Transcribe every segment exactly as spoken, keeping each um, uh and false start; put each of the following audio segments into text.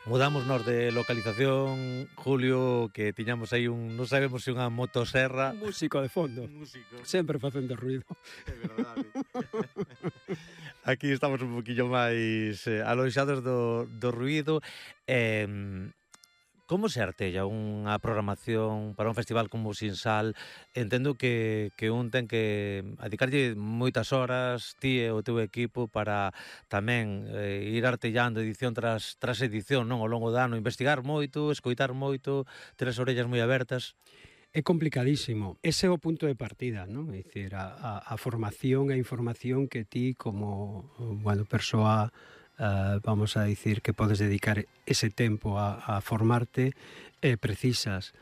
Mudamos nos de localización, Julio, que tiñamos aí un, non sabemos se unha motosserra. Un músico de fondo. Un músico. Sempre facendo ruido. É verdade. Aquí estamos un poquillo máis eh, aloixados do, do ruido. Eh, como se artella unha programación para un festival como o Sinsal? Entendo que, que un ten que adicarlle moitas horas, ti e o teu equipo, para tamén eh, ir artellando edición tras, tras edición, non, ao longo do ano, investigar moito, escoitar moito, ter as orellas moi abertas. É complicadísimo. Ese é o punto de partida, non? É dicir, a, a, a formación e a información que ti como, bueno, persoa, uh, vamos a dicir, que podes dedicar ese tempo a, a formarte, eh, precisas.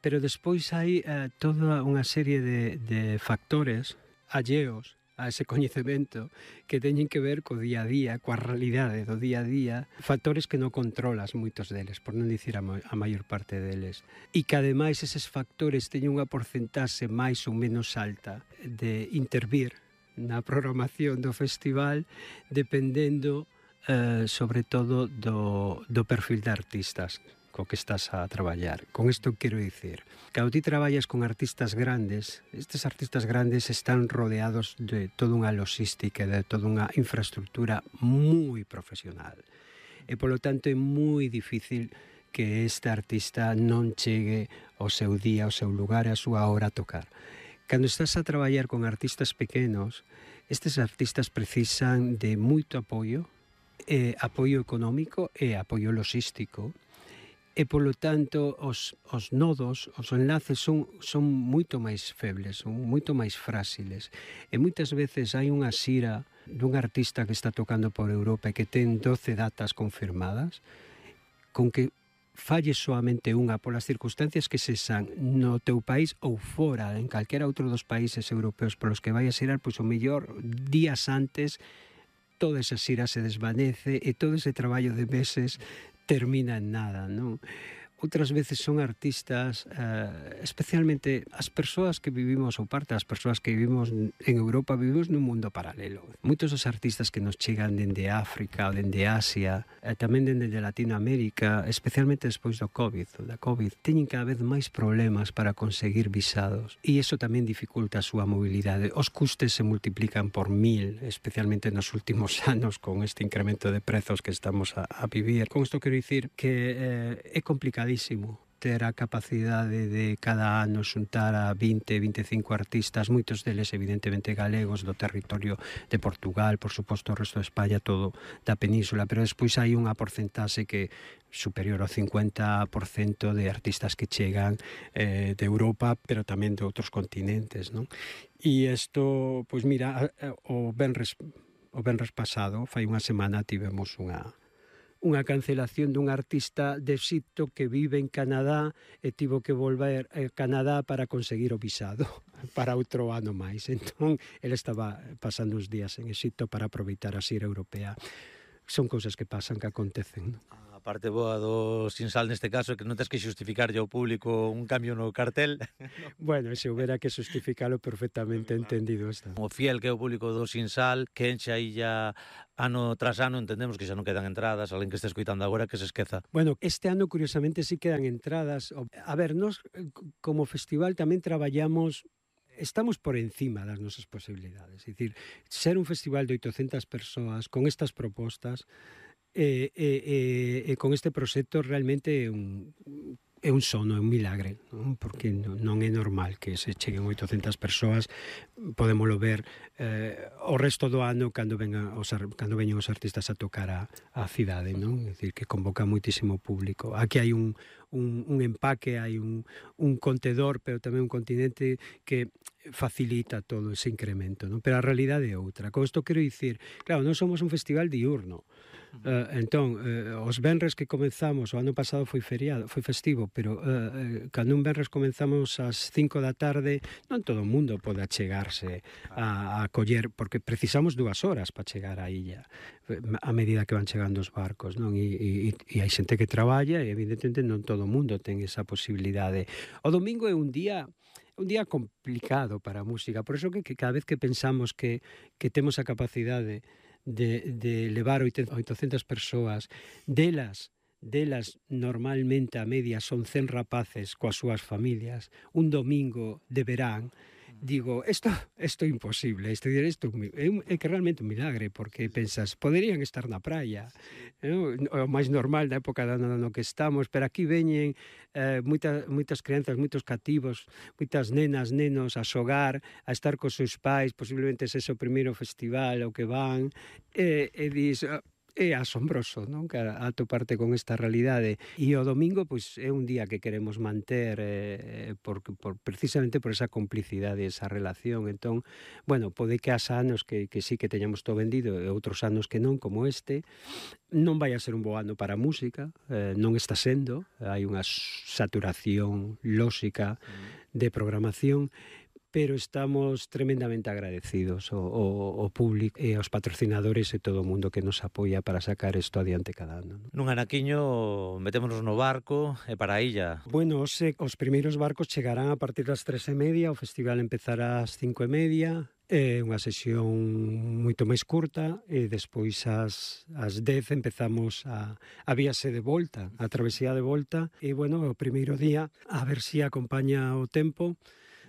Pero despois hai uh, toda unha serie de, de factores alleos a ese coñecemento que teñen que ver co día a día, coa realidade do día a día, factores que non controlas moitos deles, por non dicir a, a maior parte deles. E que ademais eses factores teñen unha porcentaxe máis ou menos alta de intervir na programación do festival, dependendo eh, sobre todo do, do perfil de artistas co que estás a traballar. Con isto quero dicir, cando ti traballas con artistas grandes, estes artistas grandes están rodeados de toda unha logística, de toda unha infraestructura moi profesional. E, polo tanto, é moi difícil que este artista non chegue ao seu día, ao seu lugar, a súa hora a tocar. Cando estás a traballar con artistas pequenos, estes artistas precisan de moito apoio, eh, apoio económico e apoio logístico, e, polo tanto, os, os nodos, os enlaces son, son moito máis febles, son moito máis frágiles. E moitas veces hai unha xira dun artista que está tocando por Europa e que ten doce datas confirmadas, con que falle soamente unha polas circunstancias que se san no teu país ou fora, en calquera outro dos países europeos polos que vai a xirar, pois o mellor días antes toda esa xira se desvanece e todo ese traballo de meses termina en nada, non? Outras veces son artistas, eh, especialmente as persoas que vivimos, ou parte das persoas que vivimos en Europa, vivimos nun mundo paralelo. Moitos dos artistas que nos chegan dende África ou dende Asia, e tamén dende Latinoamérica, especialmente despois do COVID, da COVID, teñen cada vez máis problemas para conseguir visados. E iso tamén dificulta a súa mobilidade. Os custes se multiplican por mil, especialmente nos últimos anos, con este incremento de prezos que estamos a, a vivir. Con isto quero dicir que eh, é complicadísimo ter a capacidade de cada ano xuntar a vinte, vinte e cinco artistas, moitos deles evidentemente galegos do territorio de Portugal, por suposto o resto de España, todo da península, pero despois hai unha porcentaxe que superior ao cincuenta por cento de artistas que chegan eh, de Europa, pero tamén de outros continentes, non? E isto, pois mira, o venres, o venres pasado, fai unha semana, tivemos unha unha cancelación dun artista de Exipto que vive en Canadá e tivo que volver a Canadá para conseguir o visado para outro ano máis. Entón, ele estaba pasando uns días en Exipto para aproveitar a xira europea. Son cousas que pasan, que acontecen, non? A parte boa do Sinsal neste caso é que non tens que xustificarlle ao público un cambio no cartel. Bueno, se houbera que xustificalo perfectamente entendido está. O fiel que é o público do Sinsal, que enche a illa ano tras ano, entendemos que xa non quedan entradas, alguén que este escoitando agora que se esqueza. Bueno, este ano curiosamente sí quedan entradas. A ver, nos como festival tamén traballamos, estamos por encima das nosas posibilidades. É dicir, ser un festival de oitocentas persoas con estas propostas e, e, e, e con este proxecto realmente é un, é un sono, é un milagre, non? Porque non é normal que se cheguen oitocentas persoas. Podémolo ver eh, o resto do ano cando vengan os, cando veñen os artistas a tocar a, a cidade, non? É dicir, que convoca moitísimo público. Aquí hai un, un, un empaque, hai un, un contedor, pero tamén un continente que facilita todo ese incremento, non? Pero a realidade é outra. Con isto quero dicir, claro, non somos un festival diurno. Uh, entón, uh, os venres que comenzamos, o ano pasado foi feriado, foi festivo, pero uh, uh, cando un venres comenzamos ás cinco da tarde, non todo o mundo pode achegarse a, a coller, porque precisamos dúas horas para chegar á illa, a medida que van chegando os barcos, non? E, e, e hai xente que traballa e evidentemente non todo o mundo ten esa posibilidade. O domingo é un día un día complicado para a música, por iso que, que cada vez que pensamos que, que temos a capacidade de, de levar oitocentas persoas, delas delas normalmente a media son cen rapaces coas súas familias, un domingo de verán, digo, isto isto é imposible, isto, isto é, un, é que realmente un milagre, porque pensas, poderían estar na praia, non? O máis normal da época da no que estamos, pero aquí veñen eh, moitas, moitas crianzas, moitos cativos, moitas nenas, nenos a xogar, a estar cos seus pais, posiblemente ese o primeiro festival ao que van, e, e dis, é asombroso, non? Que atoparte con esta realidade. E o domingo, pois, é un día que queremos manter eh, por, por, precisamente por esa complicidade, esa relación. Entón, bueno, pode que has anos que, que sí que teñamos todo vendido e outros anos que non, como este. Non vai a ser un bo ano para a música, eh, non está sendo, hai unha saturación lóxica de programación, pero estamos tremendamente agradecidos ao, ao, ao público e aos patrocinadores e todo o mundo que nos apoia para sacar isto adiante cada ano. Nun anaquiño metémonos no barco e para a illa. Bueno, os, os primeiros barcos chegarán a partir das tres e media, o festival empezará ás cinco e media, é unha sesión moito máis curta e despois ás, ás dez empezamos a, a víase de volta, a travesía de volta e, bueno, o primeiro día a ver si acompaña o tempo.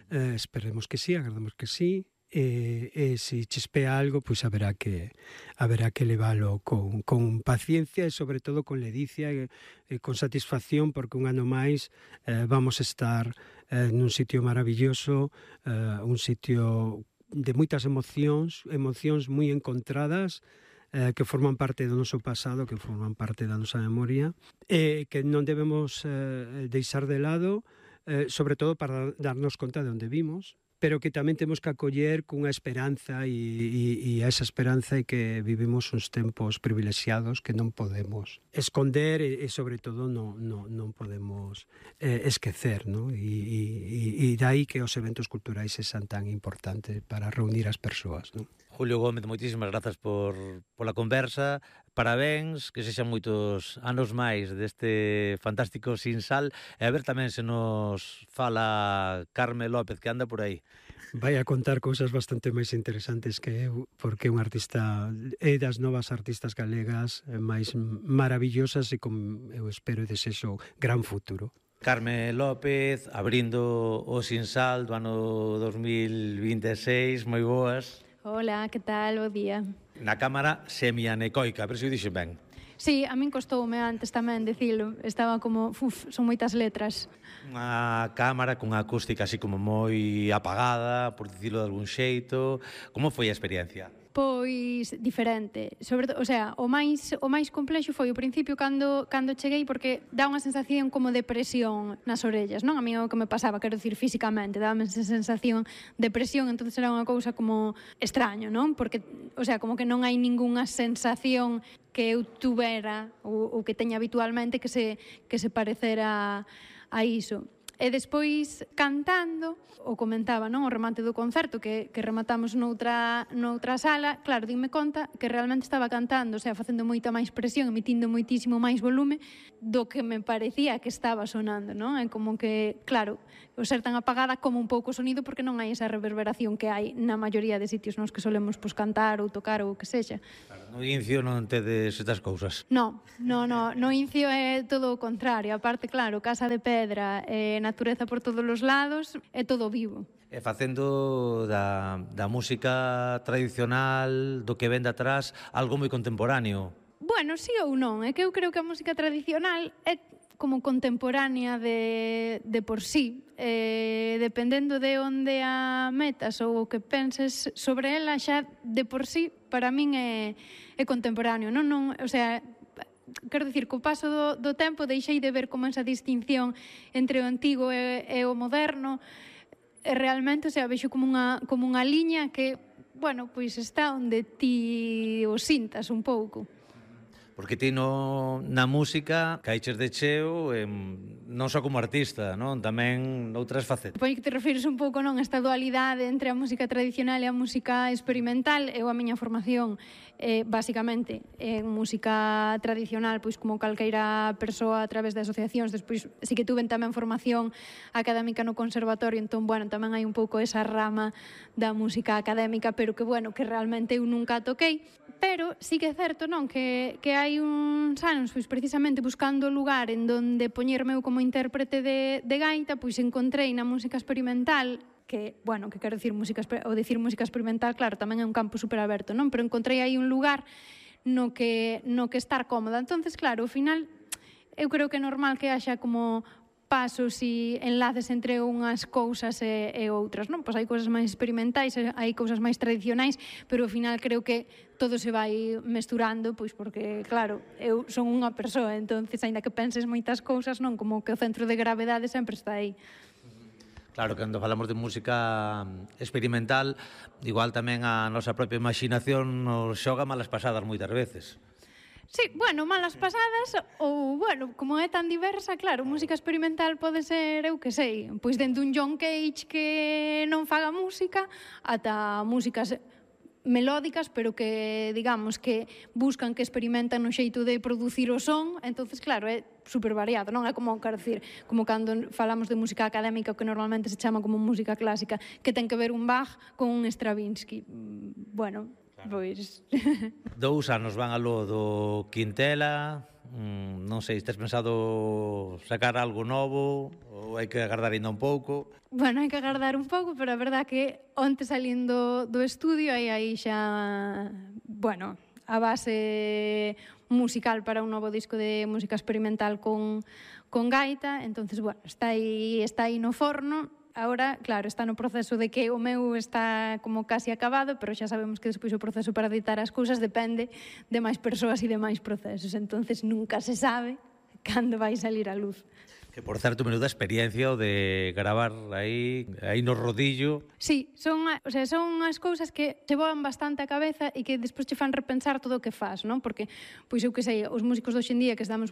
Eh, esperemos que sí, agardamos que sí, e, e se chispea algo, pois haberá que haberá que leválo con, con paciencia e sobre todo con ledicia e, e con satisfacción, porque un ano máis eh, vamos a estar eh, nun sitio maravilloso, eh, un sitio de moitas emocións, emocións moi encontradas, eh, que forman parte do noso pasado, que forman parte da nosa memoria, e que non debemos eh, deixar de lado, Eh, sobre todo para darnos conta de onde vimos, pero que tamén temos que acoller cunha esperanza e, e, e a esa esperanza é que vivimos uns tempos privilexiados que non podemos esconder e, e sobre todo non, non, non podemos eh, esquecer, ¿no? E, e, e dai que os eventos culturais sexan tan importantes para reunir as persoas, ¿no? Julio Gómez, moitísimas grazas por pola conversa. Parabéns, que sexan moitos anos máis deste fantástico Sinsal, e a ver tamén se nos fala Carme López, que anda por aí. Vai a contar cousas bastante máis interesantes que eu, porque é un artista, é das novas artistas galegas máis maravillosas e con, eu espero e desexo gran futuro. Carme López, abrindo o Sinsal do ano dos mil vinte e seis, moi boas. Hola, que tal? Bo día. Na cámara semianecoica, a ver se o dixen ben. Sí, a min costoume antes tamén dicilo. Estaba como, uf, son moitas letras. Unha cámara cunha acústica así como moi apagada, por dicilo de algún xeito. Como foi a experiencia? Pois diferente, sobre todo, o sea, o máis o máis complexo foi o principio cando cando cheguei, porque dá unha sensación como de presión nas orellas, non? A mí o que me pasaba, quero dicir, físicamente, dábame esa sensación de presión, entonces era unha cousa como extraño, non? Porque, o sea, como que non hai ningunha sensación que eu tuvera ou, ou que teña habitualmente que se que se parecera a iso. E despois, cantando, o comentaba, non, o remate do concerto que, que rematamos noutra, noutra sala, claro, dime conta que realmente estaba cantando, o sea, facendo moita máis presión, emitindo moitísimo máis volume do que me parecía que estaba sonando, non? É como que, claro, o ser tan apagada como un pouco o sonido, porque non hai esa reverberación que hai na maioría de sitios nos que solemos pues, cantar ou tocar ou o que sexa. Claro, no Incio non tedes estas cousas. No, no, no, no Incio é todo o contrario, aparte, claro, casa de pedra, eh, natureza por todos os lados, é todo vivo. E facendo da, da música tradicional, do que ven de atrás, algo moi contemporáneo. Bueno, sí ou non, é que eu creo que a música tradicional é como contemporánea de, de por sí, eh, dependendo de onde a metas ou o que penses sobre ela, xa de por sí, para min é, é contemporáneo, non, non, o sea, quero dicir, co paso do, do tempo deixei de ver como esa distinción entre o antigo e, e o moderno, e realmente, o sea, vexo como unha, como unha liña que, bueno, pois está onde ti o sintas un pouco. Porque ti no, na música caiches de cheo, eh, non só como artista, non? Tamén noutras facetas. Pois que te refires un pouco, non, esta dualidade entre a música tradicional e a música experimental. Eu a miña formación, eh, basicamente, en música tradicional, pois como calqueira persoa a través de asociacións. Despois, sí que tuven tamén formación académica no conservatorio, entón, bueno, tamén hai un pouco esa rama da música académica, pero que, bueno, que realmente eu nunca toquei. Pero sí que é certo, non, que, que hai uns anos, pois precisamente buscando o lugar en donde poñerme eu como intérprete de, de gaita, pois encontrei na música experimental que, bueno, que quero dicir música, ou dicir música experimental, claro, tamén é un campo super aberto, non? Pero encontrei aí un lugar no que, no que estar cómoda. Entonces, claro, ao final, eu creo que é normal que haxa como pasos e enlaces entre unhas cousas e, e outras, non? Pois hai cousas máis experimentais, hai cousas máis tradicionais, pero ao final creo que todo se vai mesturando, pois porque, claro, eu son unha persoa, entonces, aínda que penses moitas cousas, non? Como que o centro de gravedade sempre está aí. Claro, cando falamos de música experimental, igual tamén a nosa propia imaginación nos xoga malas pasadas moitas veces. Sí, bueno, malas pasadas ou, bueno, como é tan diversa, claro, música experimental pode ser, eu que sei, pois dende un John Cage que non faga música ata músicas melódicas, pero que, digamos, que buscan, que experimentan no xeito de producir o son, entonces, claro, é super variado, non é como, quero dicir, como cando falamos de música académica, que normalmente se chama como música clásica, que ten que ver un Bach con un Stravinsky. Bueno, pois... Dous anos van aló do Quintela, mm, non sei, estás pensado sacar algo novo ou hai que agardar ainda un pouco? Bueno, hai que agardar un pouco, pero a verdad que onte salindo do estudio hai aí xa, bueno, a base musical para un novo disco de música experimental con, con gaita, entonces, bueno, está aí, está aí no forno. Ahora, claro, está no proceso de que o meu está como casi acabado, pero xa sabemos que despois o proceso para editar as cousas depende de máis persoas e de máis procesos, entonces nunca se sabe cando vai salir a luz. Que, por certo, menuda experiencia o de gravar aí, aí no rodillo. Sí, son, o sea, son as cousas que se voan bastante a cabeza e que despois che fan repensar todo o que faz, non? Porque, pois eu que sei, os músicos de hoxe en día que estamos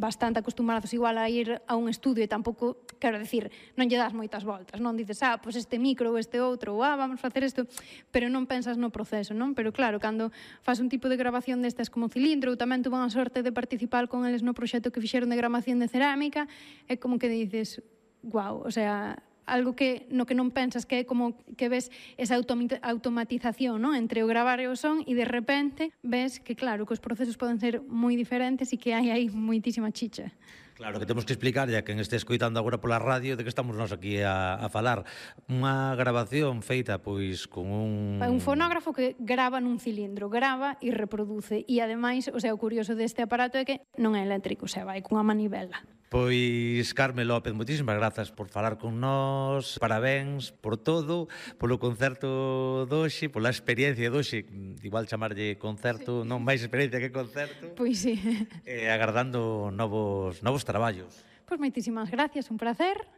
bastante acostumbrados igual a ir a un estudio e tampouco, quero decir, non lle das moitas voltas, non? Dices, ah, pois este micro ou este outro, ou ah, vamos facer isto, pero non pensas no proceso, non? Pero claro, cando faz un tipo de grabación destas como Cilindro, eu tamén tuve a sorte de participar con eles no proxecto que fixeron de gramación de cerámica, é como que dices, guau, o sea, algo que no que non pensas, que é como que ves esa automatización, ¿no? Entre o gravar e o son, e de repente ves que, claro, que os procesos poden ser moi diferentes e que hai aí moitísima chicha. Claro, que temos que explicar, ya que este escoitando agora pola radio, de que estamos nós aquí a, a falar. Unha grabación feita, pois, con un... Un fonógrafo que grava nun cilindro, grava e reproduce. E, ademais, o sea, o curioso deste aparato é que non é eléctrico, o sea, vai cunha manivela. Pois, Carme López, moitísimas grazas por falar con nós, parabéns por todo, polo concerto doxe, pola experiencia doxe, igual chamarlle concerto, sí. Non máis experiencia que concerto. Pois sí. E agardando novos, novos traballos. Pois moitísimas gracias, un placer,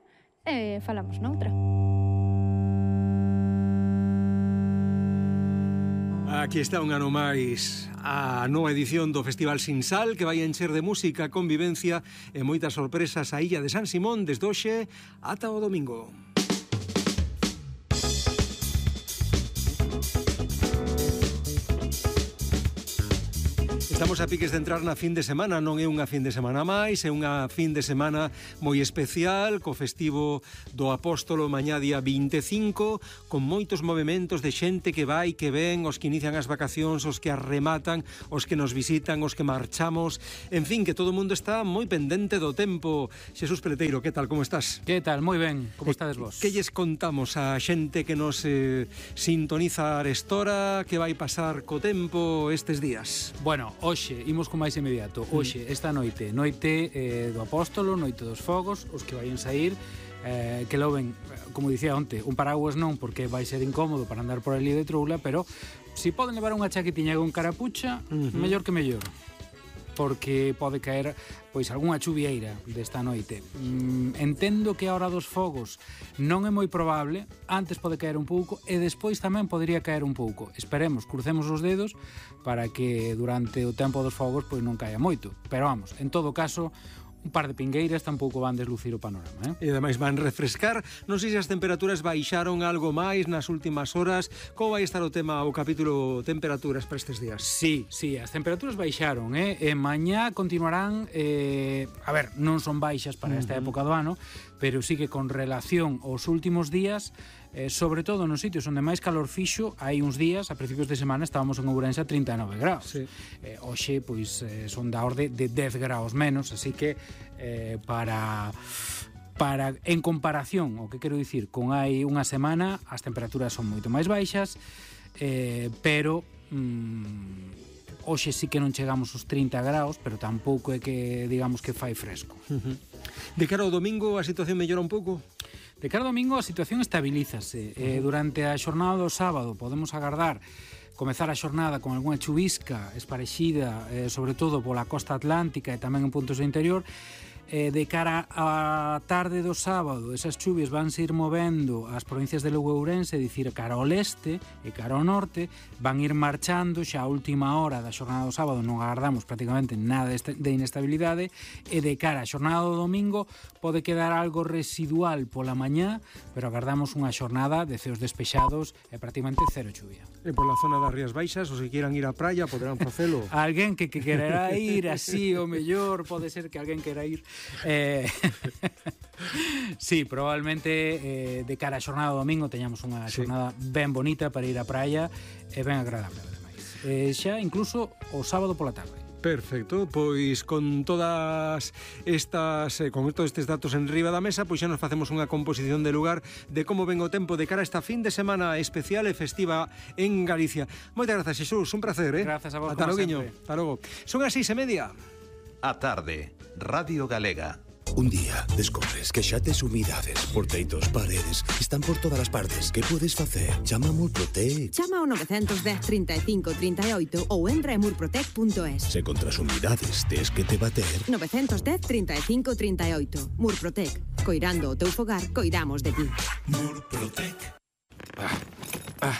e falamos noutra. Aquí está un ano máis a nova edición do Festival Sinsal, que vai encher de música, convivencia e moitas sorpresas a Illa de San Simón desde hoxe ata o domingo. Estamos a piques de entrar na fin de semana, non é unha fin de semana máis, é unha fin de semana moi especial, co festivo do Apóstolo mañá día vinte e cinco, con moitos movementos de xente que vai, que ven, os que inician as vacacións, os que as rematan, os que nos visitan, os que marchamos, en fin, que todo o mundo está moi pendente do tempo. Xesús Peleteiro, que tal, como estás? Que tal, moi ben, como estades vos? Que lles contamos a xente que nos eh, sintoniza a arestora, que vai pasar co tempo estes días? Bueno, hoxe, imos con máis inmediato. Hoxe, esta noite, noite eh, do Apóstolo, noite dos fogos, os que vayan sair, eh, que loven, como dicía onte, un paraguas non, porque vai ser incómodo para andar por ali de troula, pero si poden levar unha chaquetiña con carapucha, uh -huh. mellor que mellor, porque pode caer pois algunha chuvieira desta noite. Mm, entendo que a hora dos fogos non é moi probable, antes pode caer un pouco e despois tamén podería caer un pouco. Esperemos, crucemos os dedos para que durante o tempo dos fogos pois non caia moito. Pero vamos, en todo caso, un par de pingueiras tampouco van deslucir o panorama, eh? E ademais van refrescar. Non sei se as temperaturas baixaron algo máis nas últimas horas. Como vai estar o tema, o capítulo temperaturas para estes días? Sí, sí, as temperaturas baixaron, eh? E mañá continuarán, eh, a ver, non son baixas para esta época do ano, pero sí que con relación aos últimos días eh, sobre todo nos sitios onde máis calor fixo, hai uns días, a principios de semana, estábamos en Ourense a trinta e nove graus. Sí. Eh, hoxe, pois, eh, son da orde de dez graus menos, así que eh, para... para en comparación, o que quero dicir, con hai unha semana, as temperaturas son moito máis baixas, eh, pero mm, hoxe sí que non chegamos aos trinta graus, pero tampouco é que digamos que fai fresco. Uh-huh. De cara ao domingo a situación mellora un pouco? De cara ao domingo a situación estabilízase. Eh, durante a xornada do sábado podemos agardar comezar a xornada con algunha chuvisca esparexida, eh, sobre todo pola costa atlántica e tamén en puntos do interior. Eh, de cara á tarde do sábado, esas chuvias vanse ir movendo as provincias de Lugo e Ourense, dicir, cara ao leste e cara ao norte, van ir marchando xa a última hora da xornada do sábado, non agardamos prácticamente nada de inestabilidade, e de cara á xornada do domingo pode quedar algo residual pola mañá, pero agardamos unha xornada de ceos despexados e prácticamente cero chuvia. E pola zona das Rías Baixas, os que quieran ir á praia, poderán facelo. Alguén que, que quererá ir así, o mellor, pode ser que alguén quera ir. Eh, sí, probablemente eh, de cara a xornada do domingo teñamos unha xornada sí. ben bonita para ir á praia e ben agradable, ademais. Eh, xa incluso o sábado pola tarde. Perfecto, pois con todas estas eh, con todos estes datos en riba da mesa, pois xa nos facemos unha composición de lugar de como ven o tempo de cara a esta fin de semana especial e festiva en Galicia. Moitas grazas, Xesús, un placer, eh? Grazas a vos, Ata como loguiño. sempre. Ata logo. Son as seis e media. A tarde, Radio Galega. Un día descobres que xa tes humidades por teitos, paredes, están por todas as partes. Que podes facer? Chama a Murprotec. Chama ao nove un cero, trinta e cinco, trinta e oito ou entra en murprotec punto es. Se contra as humidades tes que te bater. nove un cero, trinta e cinco, trinta e oito. Murprotec. Coirando o teu fogar, coidamos de ti. Murprotec. Ah, ah,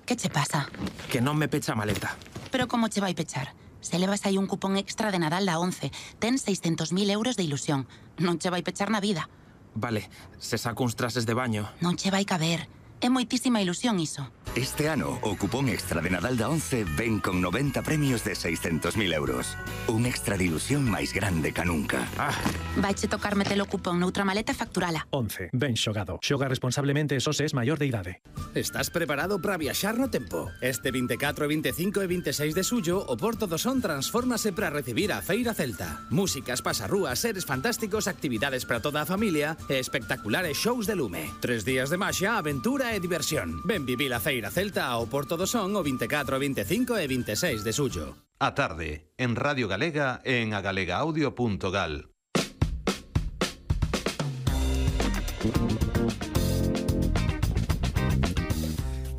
Que che pasa? que non me pecha a maleta. Pero como che vai pechar? Se levas aí un cupón extra de Nadal da once, ten seiscentos mil euros de ilusión. Non che vai pechar na vida. Vale, se saco uns trases de baño. Non che vai caber. É moitísima ilusión iso. Este ano, o cupón extra de Nadal da once ven con noventa premios de seiscentos mil euros. Un extra de ilusión máis grande ca nunca. Ah, Vaiche tocar metelo cupón noutra maleta e facturala. once. Ben xogado. Xoga responsablemente e só se es maior de idade. Estás preparado para viaxar no tempo? Este veinticuatro, veinticinco e veintiséis de xullo, o Porto do Son transfórmase para recibir a Feira Celta. Músicas, pasarrúas, seres fantásticos, actividades para toda a familia e espectaculares shows de lume. Tres días de maxia, aventura e diversión. Ven vivir a Feira Celta ao Porto do Son o veinticuatro, veinticinco e veintiséis de xullo. A tarde, en Radio Galega e en agalegaaudio punto gal.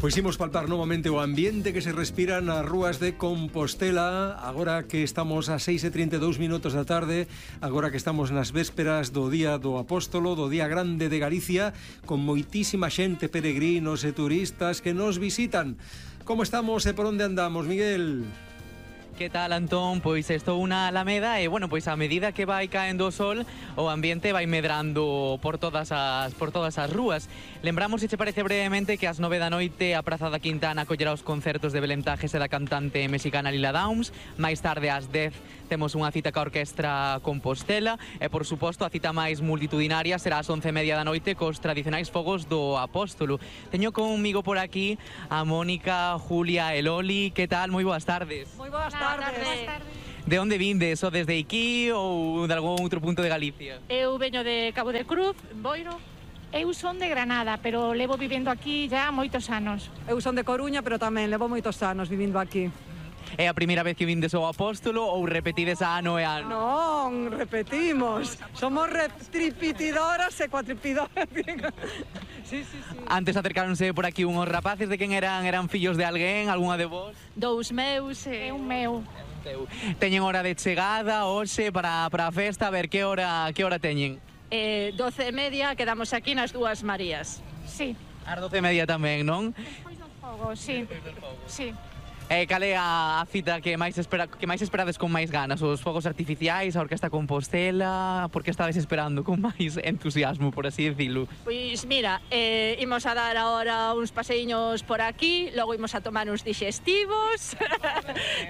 Pois imos palpar novamente o ambiente que se respira nas rúas de Compostela, agora que estamos a seis e trinta e dous minutos da tarde, agora que estamos nas vésperas do Día do Apóstolo, do Día Grande de Galicia, con moitísima xente, peregrinos e turistas que nos visitan. Como estamos e por onde andamos, Miguel? Que tal, Antón? Pois estou na Alameda e, bueno, pois a medida que vai caendo o sol, o ambiente vai medrando por todas as por todas as rúas. Lembramos, se che parece brevemente, que ás nove da noite a Praza da Quintana acollerá os concertos de Belén Tajes e da cantante mexicana Lila Downs. Máis tarde, ás dez, temos unha cita ca Orquestra Compostela e, por suposto, a cita máis multitudinaria será ás once e media da noite cos tradicionais fogos do Apóstolo. Teño conmigo por aquí a Mónica, Julia e Loli. Que tal? Moi boas tardes. Moi boas tardes. De onde vindes? O desde aquí ou de algún outro punto de Galicia? Eu veño de Cabo de Cruz, Boiro. Eu son de Granada, pero levo vivendo aquí já moitos anos. Eu son de Coruña, pero tamén levo moitos anos vivindo aquí. É a primeira vez que vindes ao Apóstolo ou repetides ano e ano? Non, repetimos. Somos tripitidoras e cuatripidoras. Sí, sí, sí. Antes acercáronse por aquí unhos rapaces. De quen eran? Eran fillos de alguén? Algúna de vos? Dous meus e un meu. Teñen hora de chegada hoxe para, para a festa? A ver, que hora, que hora teñen? Eh, doce e media, quedamos aquí nas Dúas Marías. Sí. As doce e media tamén, non? Despois do fogo, sí. Sí. E cal é a cita que máis espera, que máis esperades con máis ganas? Os fogos artificiais, a Orquestra Compostela? Por que estades esperando con máis entusiasmo, por así decirlo? Pois mira, eh, imos a dar agora uns paseiños por aquí, logo imos a tomar uns digestivos,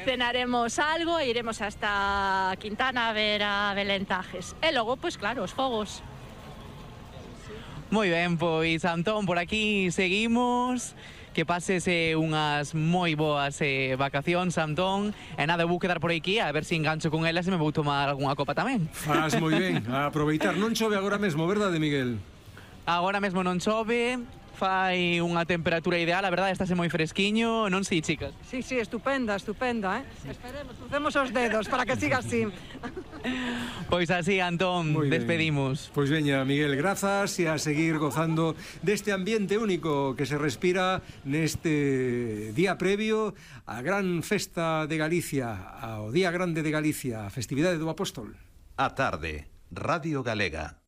cenaremos algo e iremos hasta Quintana a ver a Belén Tajes. E logo, pois claro, os fogos. Moi ben, pois Antón, por aquí seguimos. Que pases eh, unhas moi boas eh, vacacións, Antón. E nada, vou quedar por aquí a ver se engancho con elas e me vou tomar algunha copa tamén. Faz moi ben, a aproveitar. Non chove agora mesmo, verdade, Miguel? Agora mesmo non chove, fai unha temperatura ideal, a verdade, estáse moi fresquiño, non si, chicas? Sí, sí, estupenda, estupenda, eh? Esperemos, crucemos os dedos para que siga así. Pois así, Antón, Muy despedimos. Pois veña, Miguel, grazas e a seguir gozando deste ambiente único que se respira neste día previo á gran festa de Galicia, ao Día Grande de Galicia, a festividade do Apóstol. A tarde, Radio Galega.